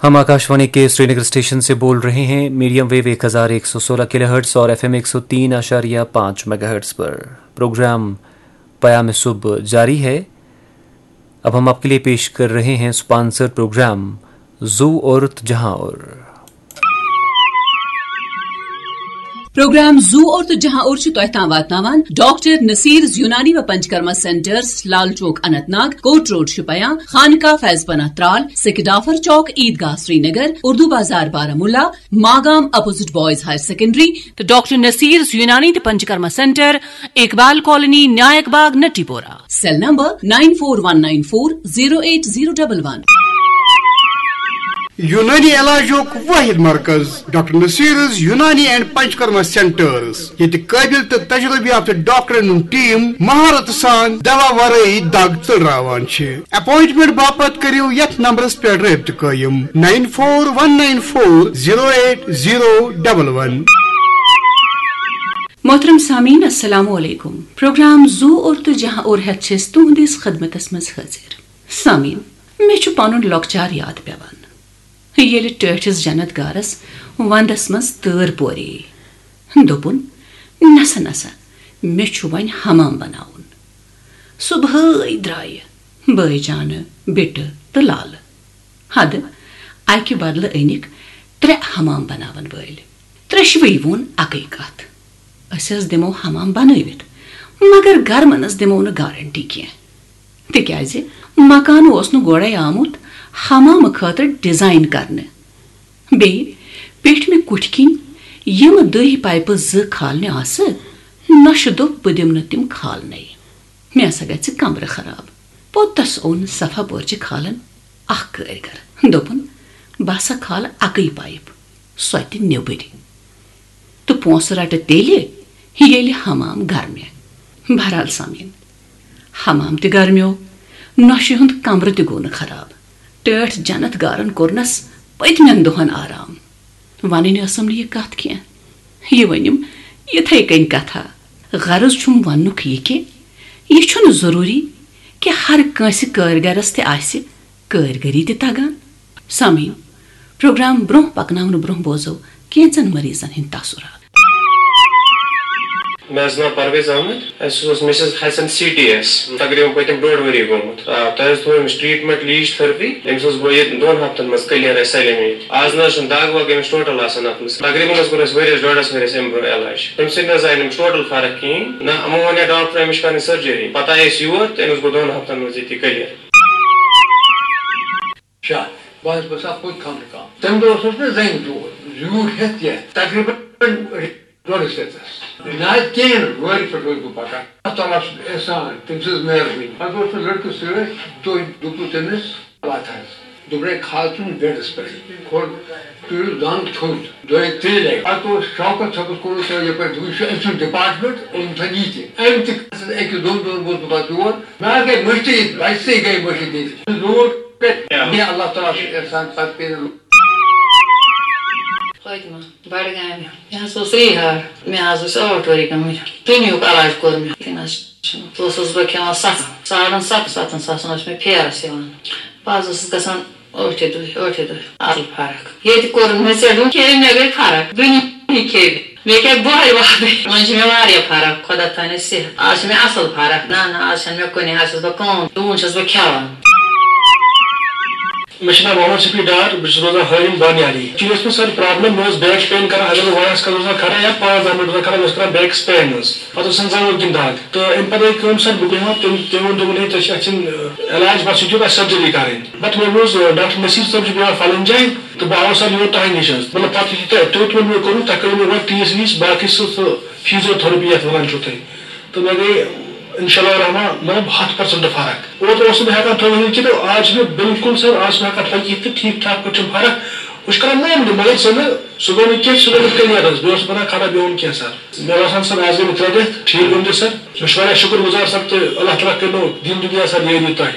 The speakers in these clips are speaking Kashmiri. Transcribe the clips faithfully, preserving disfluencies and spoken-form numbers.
हम आकाशवाणी के श्रीनगर स्टेशन से बोल रहे हैं। मीडियम वेव एक हज़ार एक सौ सोलह किलोहर्ट्ज़ और एफ़एम एक सौ तीन आशारिया पाँच मेगाहर्ट्ज़ पर प्रोग्राम पयाम सुबह जारी है। अब हम आपके लिए पेश कर रहे हैं स्पॉन्सर्ड प्रोग्राम जू और जहां और। پروگرام زو اور تو جہاں اور چھُ تۄہہِ تام واتناوان ڈاکٹر نصیر یونانی و پنچکرما سینٹرز، لال چوک اننت ناگ، کوٹ روڈ شپیاں، خانقاہ فیض پناہ Tral, Sakdafar chowk Eidgah Srinagar, Urdu Bazar Baramulla, Magam opposite boys higher secondary, تو ڈاکٹر نصیر یونانی تہٕ Panchakarma centre, Iqbal colony, Nayak Bagh, Natipora. Cell number nine four one nine four zero eight zero double one. Unani علاجُک واحد مرکز ڈاکٹر نصیرز یونانی اینڈ پنچکرما سینٹرز، ییٚتہِ قٲبِل تہٕ تجربہٕ یافتہٕ ڈاکٹرن ہُنٛد ٹیٖم مہارت سان دوا ورٲیی دگ ژٔلراوان چھِ۔ اپوائنٹمنٹ باپتھ کٔرِو یتھ نمبرس پٮ۪ٹھ رٲبطہٕ قٲیِم، nine four one nine four zero eight zero double one. محترم سامعین، السلام علیکم۔ پروگرام زو اور تو جہاں اور ہیتھ چھِ أسۍ تُہنٛدِس خدمتس منٛز حٲضِر۔ سامعین، مےٚ چھُ پنُن لۄکچار یاد پٮ۪وان، ییٚلہِ ٹٲٹھِس جنت گارس ونٛدس منٛز تۭر پورے۔ دوٚپُن، "نسا نسا، مےٚ چھُ وۄنۍ حمام بناوُن۔" صبحٲے درٛایہِ بٲے جانہٕ، بِٹہٕ تہٕ لالہٕ۔ حدٕ اکہِ بدلہٕ أنِکھ ترٛےٚ حمام بناون وٲلۍ۔ ترٛیشوٕے ووٚن اکٕے کتھ، "أسۍ حظ دِمو حمام بنٲوِتھ، مگر گرمنس دِمو نہٕ گارنٹی کینٛہہ، تِکیازِ مکان اوس نہٕ گۄڈے آمُت حمامہٕ خٲطرٕ ڈیزائن کرنہٕ۔ بیٚیہِ پیٚٹھمہِ کُٹھۍ کِنۍ یِم دٔہۍ پایپہٕ زٕ کھالنہِ آسہٕ، نۄشہِ دوٚپ، بہٕ دِمہٕ نہٕ تِم کھالنَے۔ مےٚ ہسا گژھِ کمرٕ خراب۔ پوٚتُس اوٚن صفا پورچہِ کھالن اکھ کٲرۍگر۔ دوٚپُن، "بہٕ ہسا کھالہٕ اکٕے پایپ، سۄ تہِ نیٚبٕرۍ۔ تہٕ پونٛسہٕ رٹہٕ تیٚلہِ، ییٚلہِ حمام گرمہِ۔" بہرحال سامعین، حمام تہِ گرمیو، نۄشہِ ہُنٛد کمرٕ تہِ گوٚو نہٕ خراب۔ ٹٲٹھۍ جنت گارن کوٚرنس پٔتمٮ۪ن دۄہن آرام۔ ونٕنۍ ٲسٕم نہٕ یہِ کتھ کینٛہہ۔ یہِ ؤنِم یِتھے کٔنۍ کتھا۔ غرض چھُم وننُک یہِ کہِ یہِ چھُنہٕ ضروٗری کہِ ہر کٲنٛسہِ کٲرۍگرس تہِ آسہِ کٲرۍگٔری تہِ تگان۔ سامعین، پروگرام برونٛہہ پکناونہٕ برونٛہہ بوزو کینٛژن مریضن ہٕنٛدۍ تاثرات۔ مےٚ حظ ناو پرویز احمد۔ اَسہِ اوس Mrs Hassan C T S تقریباً پٔتِم ڈۄڈ ؤری گوٚمُت۔ آ، تۄہہِ حظ تھوٚو أمِس ٹریٹمنٹ لیٖش تھرپی، أمِس حظ گوٚو ییٚتہِ دۄن ہفتن منٛز کلیر اَسہِ سٲلِم ییٚتہِ۔ آز نہ حظ چھُنہٕ دگ وگ أمِس ٹوٹل آسان اَتھ منٛز۔ تقریباً حظ کوٚر اَسہِ ؤرِیَس ڈۄڈَس ؤرِیَس اَمہِ برونٛہہ علاج۔ تَمہِ سۭتۍ نہ حظ آیہِ نہٕ أمِس ٹوٹل فرق کِہیٖنۍ۔ نہ، یِمو ووٚن یا ڈاکٹر أمِس چھِ کَرٕنۍ سٔرجری۔ پَتہٕ آیہِ أسۍ یور تہٕ أمِس گوٚو دۄن ہفتن منٛز ییٚتہِ کلیر۔ شاہ، بہٕ حظ باسان پوٚت خانہٕ کام۔ تَمہِ دۄہ اوسُس نہٕ زَنہِ دود، زیوٗٹھ ہٮ۪تھ کینٛہہ، تقریٖباً ڈۄڈس رٮ۪تس۔ نہ حظ کِہیٖنۍ، وارِ پٮ۪ٹھ اوسُس بہٕ پَکان۔ اللہ تعالیٰ سُنٛد احسان، تٔمۍ سٕنٛز مہربٲنی۔ پَتہٕ اوس سُہ لٔڑکہٕ سۭتۍ، تُہۍ دوٚپُس تٔمِس، وَتھ حظ۔ دوٚپنَے، کھال ژٕ بیڈَس پٮ۪ٹھ، کھول، تُلِو زنٛگ تھوٚد، دۄیہِ ترٛیٚیہِ لَٹہِ۔ پَتہٕ اوس شوکت صٲبَس کوٚرمُت سُہ یَپٲرۍ، دوٚپُن، یہِ چھُ أمۍ سُنٛد ڈِپارٹمنٹ، یِم تھٲوِن یہِ تہِ۔ أمۍ تہِ أکِس دۄن دۄہَن گوس بہٕ پَتہٕ یور، مےٚ حظ گٔے مٔشتٕے، بَچہِ تہِ گٔے مٔشِتھ ییٚتہِ۔ زوٗٹھ، مےٚ اللہ تعالیٰ سُنٛد احسان، پَتہٕ پیٚیہِ نہٕ۔ فاطمہ، بڈگامہِ۔ مےٚ حظ اوس رِیہار، مےٚ حظ ٲسۍ ٲٹھ ؤری گٔمٕتۍ۔ دُنیہُک علاج کوٚر مےٚ، کِنہٕ حظ چھُنہٕ۔ اوسُس بہٕ کھٮ۪وان ستھ، ساڑن ستن، ستن ساسن اوس مےٚ پھیرس یِوان۔ بہٕ حظ ٲسٕس گژھان ٲٹھِ دۄہہِ، ٲٹھِ دۄہہِ۔ اصل فرق۔ ییٚتہِ کوٚرُن مےٚ ژےٚ ڈوٗ، کھیٚیہِ مےٚ گٔے فرق۔ دُنیا کھیٚیہِ مےٚ۔ مےٚ کیٛاہ بۄہرِ وۄہرِ۔ وۄنۍ چھِ مےٚ واریاہ فرق، خۄدا تھاینَس صحت۔ آز چھِ مےٚ اصل فرق۔ نہ، نہ، آز چھَنہٕ مےٚ کُنہِ، آز چھَس بہٕ کٲم، ڈوٗن چھَس بہٕ کھٮ۪وان۔ مےٚ چھُ ناو محمد شفیع ڈار، بہٕ چھُس روزان ہٲوِن بانیالی۔ ایکچُؤلی ٲس مےٚ سر پرابلم، مےٚ اوس بیک پین کران، اگر بہٕ واریاہس کالس اوسُس کران یا پانٛژھ دہ منٹ اوسُس کران، مےٚ اوس کران بیکس پین حظ۔ پتہٕ اوس آسان زنٛگن کِنۍ دگ۔ تہٕ امہِ پتہٕ گٔے کٲم سر، بہٕ بیٚہمہٕ ہا، تٔمۍ، تٔمۍ ووٚن، دوٚپُن، "ہے، ژےٚ چھِ اَتھ چھِنہٕ، ٲ، علاج، بس یہِ چھُ تۄہہِ سرجری کرٕنۍ۔" پتہٕ مےٚ بوٗز، ٲ، ڈاکٹر نصیر صٲب چھُ بیٚہوان فلٲنۍ جایہِ، تہٕ بہٕ آوُس سر یور تۄہہِ نِش حظ۔ مطلب، پتہٕ یُتھُے تۄہہِ ٹریٹمنٹ مےٚ کوٚروٕ، تۄہہِ کٔرِو مےٚ گۄڈٕ ٹیسٹ ویسٹ، باقٕے سُہ، سُہ فیزیو تھرپی یتھ ونان چھِو تُہۍ۔ تہٕ مےٚ گٔے انشاء اللہ الرحمن مطلب ہتھ پٔرسنٹ فرق۔ اوترٕ اوسُس نہٕ ہٮ۪کان تھٲوِتھ کِتھ، آز چھِ مےٚ بالکل سر، آز چھِ مےٚ ہٮ۪کان تھٲوِتھ کِتھ تہٕ ٹھیٖک ٹھاک پٲٹھۍ چھَم فرق۔ بہٕ چھُس کران معموٗلی، مگر سُہ نہٕ، سُہ گوٚو نہٕ کینٛہہ، سُہ گوٚو نہٕ کلیر حظ۔ بہٕ اوسُس پتہٕ کھڑا بِہُن کینٛہہ سر۔ مےٚ باسان سر، آز گٔے مےٚ ترٛےٚ رٮ۪تھ ٹھیٖک گٔمتِس سر۔ بہٕ چھُس واریاہ شُکر گُزار سر تہٕ اللہ تعالیٰ کٔرِنو دیٖن دُنیا سر یٲری تۄہہِ۔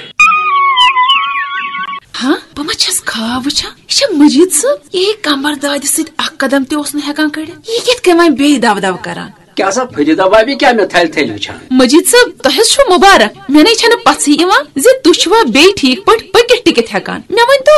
ہاں، بہٕ ما چھَس خواب وٕچھان؟ یہِ چھا مجید صٲب؟ یہِ ہے کمر دادِ سۭتۍ اکھ قدم تہِ اوس نہٕ ہٮ۪کان کٔڑِتھ۔ یہِ کِتھ کٔنۍ وۄنۍ بیٚیہِ دَو دَو کران؟ کیٛاہ سا فرید بابی کیٛاہ مےٚ تھلہِ تھلہِ وٕچھان؟ مجید صٲب، تۄہہِ حظ چھُو مُبارک۔ مےٚ نے چھَنہٕ پژھٕے یِوان زِ تُہۍ چھِوا بیٚیہِ ٹھیٖک پٲٹھۍ پٔکِتھ ٹِکِتھ ہٮ۪کان۔ مےٚ ؤنۍ تو،